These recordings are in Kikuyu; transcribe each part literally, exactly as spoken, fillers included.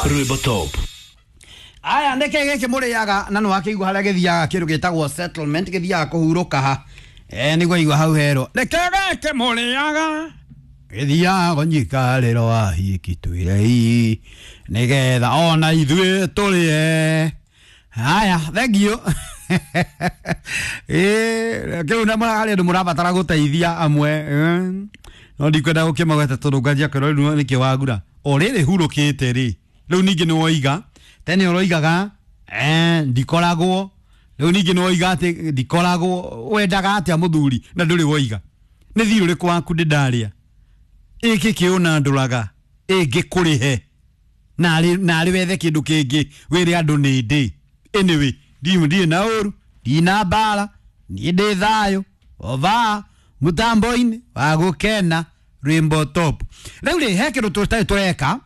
Rwĩmbo Top. Aya nä kä gä kä må rä aga na nä wakä igua harä a gä thiaga kä ndå gä tagwo settlement gä thiaga kå hurå ka ha nä guo igua hau herwo nä kä gä kä må rä aga gä thiaga nyikarä ro ahiki twä rei nä getha ona ithuä tå rä e haya thengio. Kä u harä andå må rabatara gå teithia amwe, no ndikwenda gå kä magweta tondå nganjia kwä rwo nä kä wagura o rä rä hurå kä te rä rä u ningä nä woiga tene ũroigaga eh ndikoragwo rĩu ningĩ nĩwoiga atĩ ndikoragwo wendaga atĩa mũthuri na ndũrĩ woiga nĩ thiĩ ũrĩkũ waku ndĩ ndarĩa ĩkĩ kĩũna ndũraga ĩngĩkũrĩhe narĩ narĩ wethe kĩndũ kĩngĩ wĩre andũ nĩ ndĩ. Anyway, ndirĩ na ũru, ndina mbara, niĩ ndĩ thayũ ova mũtambo-inĩ wa gũkena Rwĩmbo Top. Rĩu rĩ he kĩndũ tũtarĩ tũreka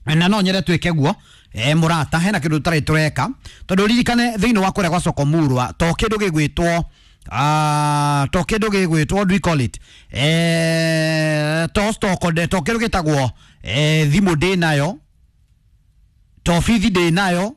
na no nyende twĩke guo eh murata hena kindu tutari tureka tondu ririkane thiini wa kuria gwa soko murwa to kindu gigwitwo ah to kindu gigwitwo, what do we call it, eh to stock de to kindu gitagwo eh thimu ndi nayo to bithi ndi nayo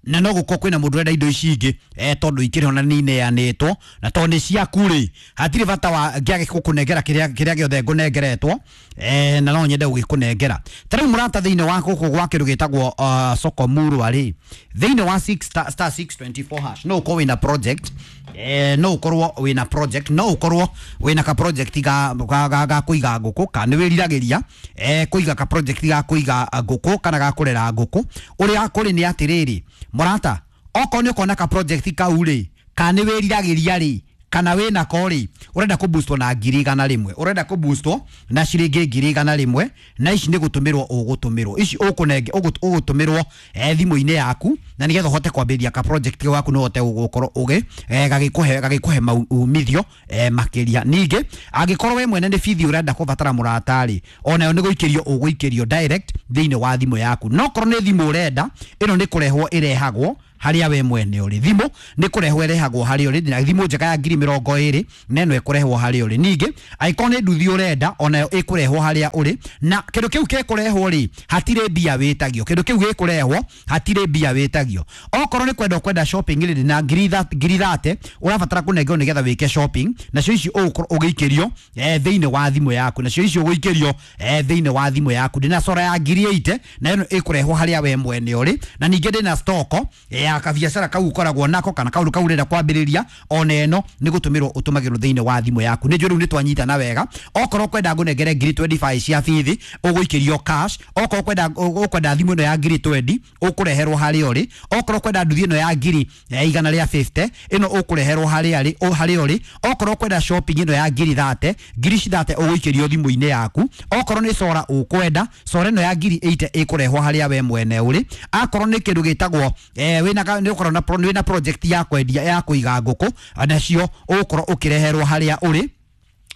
na no gukorwo kwina mundu urenda indo ici ingi eh tondu ikiri ona ni ineanitwo na tondu ni ciaku ri hatiri bata wa ngiage gukunengera kiria kiria giothe ngunengeretwo eh na no nyende gugikunengera. Ta riu murata thiini wa guku gwa kindu gitagwo uh, soko murwa ri thiini wa six star, star six twenty-four hash no ukorwo wina project eh no ukorwo wina project no ukorwo wina ka project ga ga ga, ga kuiga nguku ka ni wiriragiria eh kuiga ka project ga kuiga nguku kana ga kurera nguku uria kuri ni atiriri murata okorwo ni ukona ka project kau ri ka ni wiriragiria ri kana wina ko ri urenda ku boostwo na ngiri igana rimwe urenda ku boostwo na ciringi ngiri igana rimwe na ici ni gutumirwo ugutumirwo ici ukunenge ugutumirwo eh thimu-inĩ yaku na nigetha uhote kwambĩrĩria ka project gaku no uhote gukorwo ugi eh gagikuhe gagikuhe maumithio eh makiria. Ningĩ angĩkorwo we mwene nĩ bithi urenda kubatara mũrata ri onayo nĩ gũikĩrio ũgũikĩrio direct thĩinĩ wa thimũ yaku no korwo nĩ thimũ urenda ĩno nĩ kũrehwo ĩrehagwo haria we mwene uri thimu ni kurehwo irehagwo haria uri na thimu njega ya ngiri mirongo iri na ĩno ĩkũrehwo haria uri. Ningĩ angĩkorwo nĩ nduthi urenda onayo ĩkũrehwo haria uri na kĩndũ kĩu gĩkũrehwo ri hatirĩ mbia wĩtagio kĩndũ kĩu gĩkũrehwo hatirĩ mbia wĩtagio. Okorwo nĩ kwenda kwenda shopping rĩ na ngiri thate ũrabatara kũnengerwo nĩgetha wĩke shopping nacio ici ũgũkorwo ũgĩikĩrio eh thĩinĩ wa thimũ yaku nacio ici ũgũikĩrio eh thĩinĩ wa thimũ yaku. Ndĩna sora ya ngiri eighty na ĩno ĩkũrehwo haria we mwene uri na ningĩ ndĩna stoko ya kabiacara kau ukoragwo nako kana kaundu kau urenda kwambiriria ona eno ni gutumirwo utumagirwo thiini wa thimu yaku. Ni njũĩ riu ni twanyitana wega. Okorwo kwenda ngunengere ngiri twenty-five cia bithi uguikirio cash, okorwo kwenda ukwenda thimu ino ya ngiri twenty ukureherwo haria uri, okorwo kwenda nduthi ino ya ngiri igana ria fifty ino ukureherwo haria ri haria uri, okorwo kwenda shopping ino ya ngiri thirty ngiri thirty uguikirio thimu-inĩ yaku, okorwo ni sora ukwenda sora ino ya ngiri eighty ikurehwo haria we mwene uri, akorwo ni kindu gitagwo eh wina ni ukorwo na pro, wina project ya kwendia ya kuiga nguku nacio ukorwo ukireherwo haria uri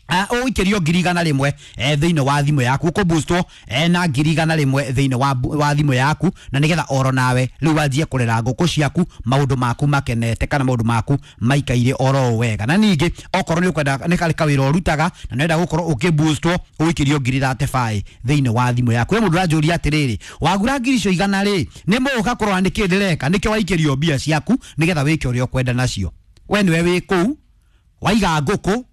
ũikĩrio ngiri igana rĩmwe thĩinĩ wa thimũ yaku ũkũboostwo na ngiri igana rĩmwe thĩinĩ wa wa thimũ yaku na nĩgetha oro nawe rĩu wanjie kũrera ngũkũ ciaku maũndũ maku makenete kana maũndũ maku maikaire oro wega. Na ningĩ okorwo nĩ ũkwenda nĩ karĩ kawĩra ũrutaga na nĩwenda gũkorwo ũkĩboostwo ũikĩrio ngiri thirty-five thĩinĩ wa thimũ yaku. We mũndũ ũranjũria atĩrĩrĩ wagura ngiri icio igana rĩ nĩ mũũka kũrora nĩkĩ ndĩreka nĩkĩo waikĩrio mbia ciaku nĩgetha wĩke ũrĩa ũkwenda nacio. We nĩwe wĩ kũu waiga ngũkũ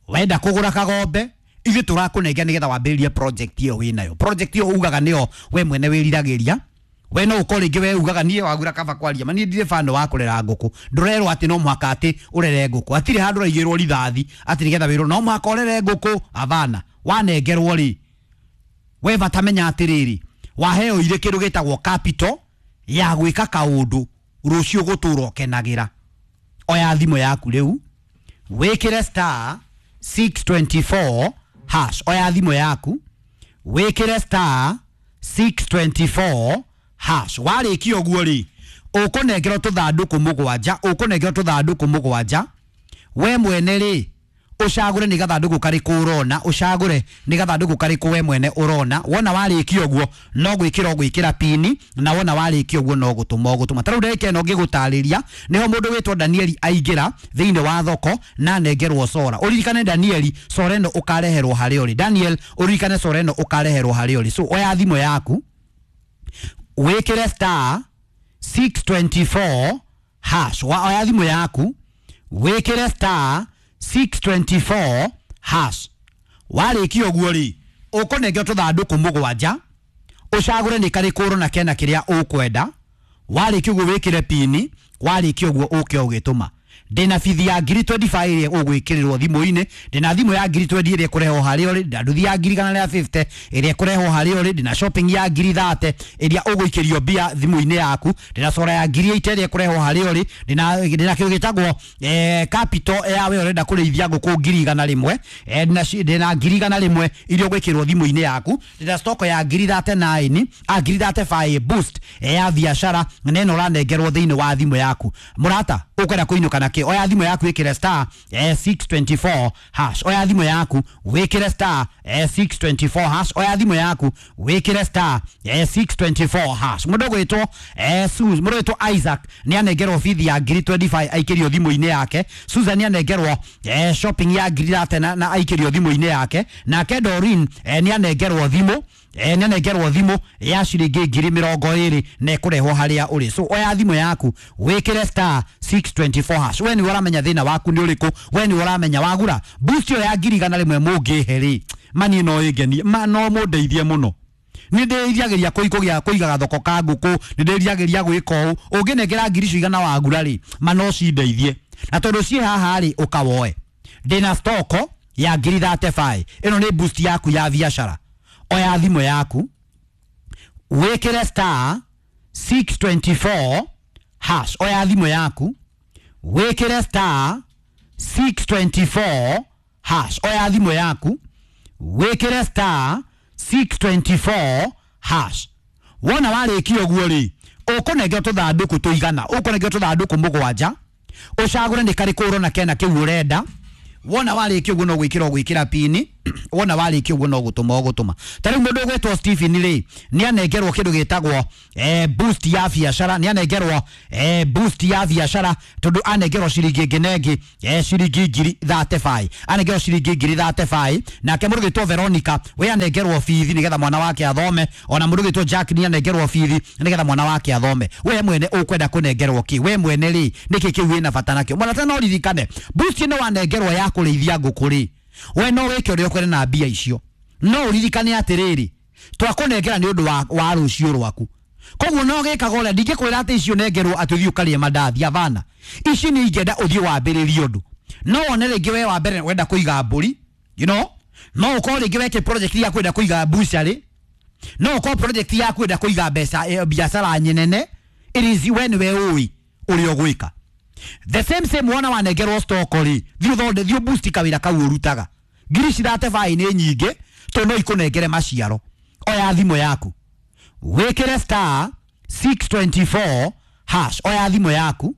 wenda kugura kagombe ithuĩ tũrakũnengera nĩgetha wambĩrĩrie project ĩyo wĩnayo. Project ĩyo ugaga nĩyo we mwene wĩriragĩria we no ũkorwo rĩngĩ we ugaga niĩ wagura kaba kwaria ma niĩ ndirĩ bando wa kũrera ngũkũ ndũrerwo atĩ no mũhaka atĩ ũrere ngũkũ hatirĩ handũ ũraigĩrwo rithathi atĩ nĩgetha wĩrwo no mũhaka ũrere ngũkũ abana wanengerwo rĩ we bata menya atĩrĩrĩ waheo irĩ kĩndũ gĩtagwo capital ya gwĩka kaũndũ rũciũ gũtũra ũkenagĩra. Oya thimũ yaku rĩu wĩkĩre star six twenty-four hash oya thimũ yaku wĩkĩre star six twenty-four hash warĩkia ũguo rĩ ũkũnengerwo tũthandũkũ mũgwanja ũkũnengerwo tũthandũkũ mũgwanja we mwene rĩ ũcagũre nĩ gathandũkũ karĩkũ ũrona ũcagũre nĩ gathandũkũ karĩkũ we mwene ũrona wona warĩkia ũguo no gwĩkĩra ũgwĩkĩra pini na wona warĩkia ũguo no gũtũma ũgũtũma. Ta rĩu ndagĩka ĩno ngĩgũtarĩria nĩho mũndũ wĩtwo Danieli aingĩra thĩinĩ wa thoko na anengerwo sora. Ũririkane Danieli sora ĩno ũkareherwo harĩa ũrĩ. Daniel ũririkane sora ĩno ũkareherwo harĩa ũrĩ. So oya thimũ yaku Wĩkĩre star six twenty-four hash. Wa oya thimũ yaku wĩkĩre star six twenty-four hash. Warĩkia ũguo rĩ, ũkũnengera tũthandũkũ mũgwanja, ũcagũre nĩ karĩkũ ũrona kena kĩrĩa ũkwenda. Warĩkia ũguo wĩkĩre pini, warĩkia ũguo ũke ũgĩtũma. Ndĩna bithi ya ngiri twenty-five ĩrĩa ũgwĩkĩrĩrwo thimũ-inĩ, ndĩna thimũ ya ngiri twenty ĩrĩa ĩkũrehwo harĩa ũrĩ, ndĩna nduthi ya ngiri igana rĩa fifty ĩrĩa ĩkũrehwo harĩa ũrĩ, ndĩna shopping ya ngiri thirty ĩrĩa ũgũikĩrio mbia thimũ-inĩ yaku, ndĩna sora ya ngiri eighty ĩrĩa ĩkũrehwo harĩa ũrĩ, ndĩna ndĩna kĩndũ gĩtagwo eh, capital ya we ũrenda kũrĩithia ngũkũ ngiri igana rĩmwe, eh, ndĩna ndĩna ngiri igana rĩmwe iria ũgwĩkĩrwo thimũ-inĩ yaku, ndĩna stock ya ngiri thirty-nine a ngiri thirty-five boost eh, ya biashara na ĩno ũranengerwo thĩinĩ wa thimũ yaku. Mũrata ũkwenda kũinũka na kĩ? Oya thimũ yaku wĩkĩre star eh, six twenty-four hash. Oya thimũ yaku wĩkĩre star eh, six twenty-four hash. Oya thimũ yaku wĩkĩre star eh, six twenty-four hash. Mũndũ ũgwĩtwo eh, Susan, mũndũ ũgwĩtwo Isaac nĩ anengerwo bithi ya ngiri twenty-five aikĩrio thimũ-inĩ yake. Susan nĩ anengerwo eh, shopping ya ngiri thirty na, na aikĩrio thimũ-inĩ yake. Nake Doreen eh, nĩ anengerwo thimũ eh, nĩ anengerwo thimũ ya ciringi ngiri mĩrongo ĩrĩ na ĩkũrehwo harĩa ũrĩ. So oya thimũ yaku wĩkĩre star six twenty-four hash. We nĩwe ũramenya thĩna waku nĩ ũrĩkũ, we nĩwe ũramenya wagura boost ĩyo ya ngiri igana rĩmwe mũngĩhe rĩ, mani no ĩngenie, ma no mũndeithie mũno. Nĩ ndĩriragĩria kũigũgĩa kũiga gathoko ka ngũkũ, nĩ ndĩriragĩria gwĩka ũũ. Ũngĩnengera ngiri icio igana wagura rĩ, ma no cindeithie. Na tondũ ciĩ haha rĩ, ũkawoe. Ndĩna stoko ya ngiri thirty-five. Ĩno nĩ boost yaku ya biacara. Oya thimũ yaku wĩkĩre star six twenty-four hash. Oya thimũ yaku wĩkĩre star six twenty-four hash. Oya thimũ yaku wĩkĩre star six twenty-four hash. Wona warĩkia ũguo rĩ, ũkũnengera tũthandũkũ tũigana, ũkũnengera tũthandũkũ mũgwanja, ũcagũre nĩ karĩkũ ũrona kena kĩu ũrenda. Wona warĩkia ũguo no gwĩkĩra ũgwĩkĩra pini, wona warĩkia ũguo no gũtũma ũgũtũma. Ta rĩu mũndũ ũgwĩtwo Stephen rĩ, nĩ anengerwo kĩndũ gĩtagwo eh, boost ya biacara, nĩ anengerwo eh, boost ya biacara tondũ anengerwo ciringi ĩngĩ na ĩngĩ eh, ciringi ngiri thirty-five, anengerwo ciringi ngiri thirty-five. Nake mũndũ ũgwĩtwo Veronica we anengerwo bithi nĩgetha mwana wake athome, ona mũndũ ũgwĩtwo Jack nĩ anengerwo bithi nĩgetha mwana wake athome. We mwene ũkwenda kũnengerwo kĩ? We mwene rĩ, nĩkĩ kĩu wĩna bata nakĩo? Mwana no ririkane boost ĩno wanengerwo ya kũrĩithia ngũkũ rĩ, we no wĩke ũrĩa ũkwenda na mbia icio, no ũririkane atĩrĩrĩ, twakũnengera nĩ ũndũ wa, wa rũciũ rwaku. Koguo no gĩkaga ũrĩa ndingĩkwĩra atĩ icio nengerwo atĩ ũthiĩ ũkarĩe mandathi, abana. Ici nĩ ingĩenda ũthiĩ wambĩrĩrie ũndũ. No wone rĩngĩ we wa mbere wenda kũiga mbũri, you know, no ũkorwo rĩngĩ weke project ya kwenda kũiga bucharĩ, no ũkorwo project ya kwenda kũiga mbeca eh, biacara nyenene. It is we nĩwe ũĩ ũrĩa ũgwĩka. The same same wona wanengerwo stock rĩ, thiĩ ũthonde, thiĩ boost kawĩra kau ũrutaga. Ngiri thirty-five nĩ nyingĩ tondũ no ikũnengere maciaro. Oya thimũ yaku wĩkĩre star six twenty-four hash. Oya thimũ yaku